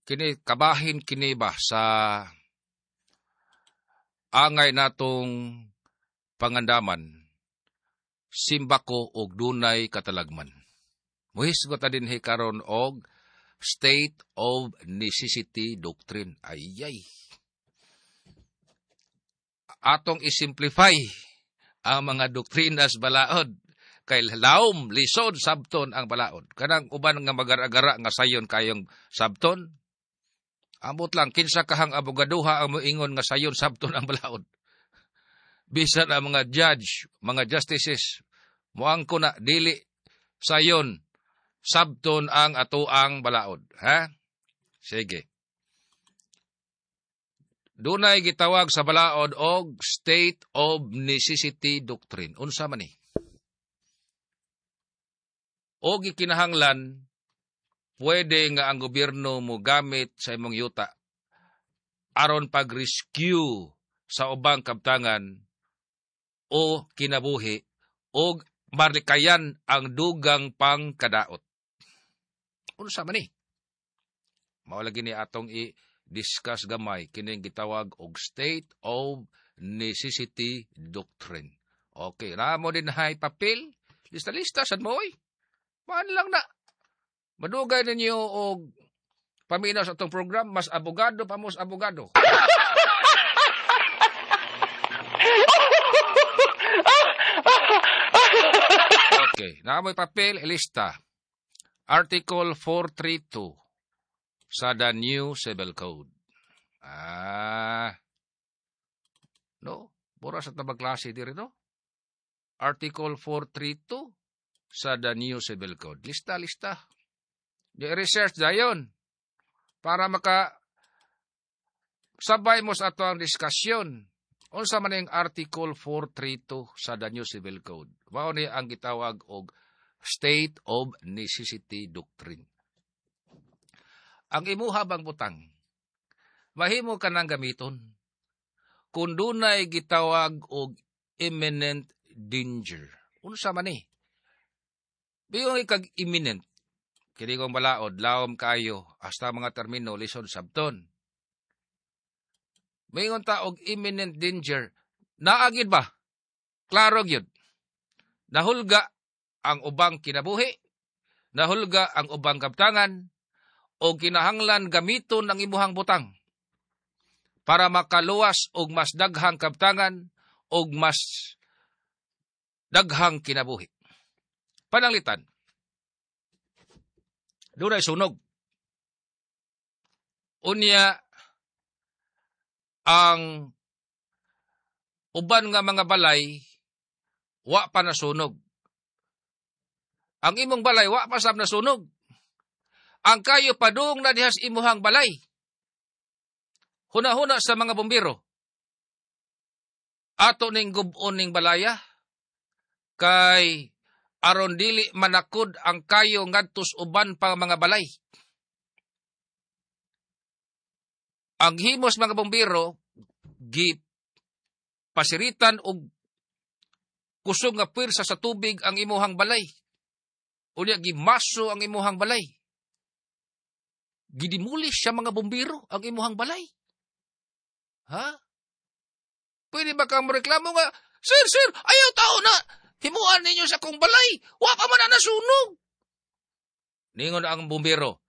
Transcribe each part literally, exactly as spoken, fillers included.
Kini kabahin kini ba sa angay natong pangandaman simbako og dunay katalagman. Muhisgot ta dinhi karon og state of necessity doctrine. Ayay. Atong isimplify ang mga doktrinas balaod kay laom lisod sabton ang balaod. Kanang uban nga magar-agara nga sayon kayong sabton. Ambot lang kinsa kahang abogaduha ang moingon nga sayon sabton ang balaod. Bisan ang mga judge, mga justices, moangko na dili sayon sabton ang atoang balaod. Ha? Sige. Dunay gitawag sa balaod og state of necessity doctrine. Unsa man ni? O gikinahanglan pwede nga ang gobyerno mo gamit sa imong yuta aron pag-rescue sa ubang kabtangan o kinabuhi og marlikayan ang dugang pangkadaot. Unsa man ni? Mao lagi ni atong i-discuss gamay kining gitawag og state of necessity doctrine. Okay, naa mo dinhay papel. Lista-lista sad mo oy. Maan lang na. Madugay ninyo og paminaw sa atong program, mas abogado pa mos abogado. Okay, naa mo'y papel, ilista. Article four three two sa the New Civil Code. Ah. No, mura sa tabang klase diri no. Article four three two sa the New Civil Code. Lista, lista. Di-research dayon para maka sabay mo sa ato ang diskusyon. Unsa man yung Article four three two sa the New Civil Code? Mao ni ang gitawag og State of Necessity Doctrine. Ang imuha bang butang, mahimo ka nang gamiton kung dunay gitawag og imminent danger. Unsa man ni? Bigon ikag imminent, kini kong balaod, lawom kayo, hasta mga termino, lisod sabton. Mingon ta og imminent danger, naagid ba? Klaro gyud. Nahulga ang ubang kinabuhi, nahulga ang ubang kabtangan, o kinahanglan gamiton ang imuhang butang para makaluwas og mas daghang kabtangan og mas daghang kinabuhi. Pananglitan, dunay sunog. Unya, ang uban nga mga balay, wa pa nasunog. Ang imong balay, wa pa sab nasunog. Ang kayo padung na dihas imuhang balay. Huna-huna sa mga bumbero. Ato ning gub-on ning balaya, kay aron dili manakod ang kayo ngadtos uban pa mga balay. Ang himos mga bumbero, gi pasiritan og kusog nga puwersa sa tubig ang imuhang balay. Unya gimaso ang imuhang balay. Gidimulis sa mga bumbero ang imuhang balay. Ha? Pwede ba kang reklamo nga, Sir, sir, ayaw tao na, himuan ninyo sa akong balay, wa pa man na nasunog. Ningon ang bumbero,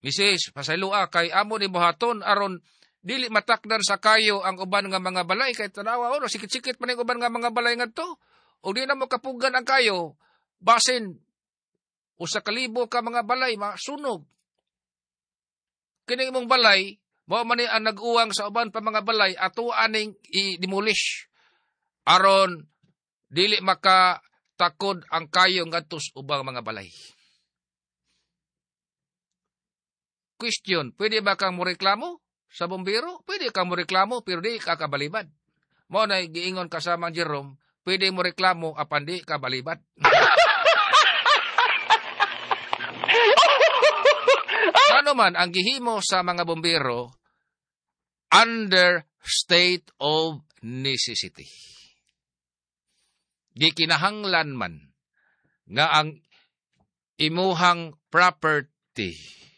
Misis, pasayloa kay amo ni buhaton aron dili matakdan sa kayo ang uban nga mga balay kay tanawa oro sikit-sikit man ning uban nga mga balay ngadto. Og di na mo kapugan ang kayo basin usa ka libo ka mga balay masunog. Kini imong balay mao man ni ang nag-uwang sa uban pa mga balay ato aning i-demolish aron dili makatakod ang kayo ngadto sa ubang mga balay. Question, pwede ba kang moreklamo sa bumbero? Pwede kang moreklamo pero di ka kabalibad. Mao na giingon kasamang Jerome, pwede mo reklamo apan di ka balibad. Ano man ang gihimo sa mga bumbero under state of necessity. Gikinahanglan man nga ang imuhang property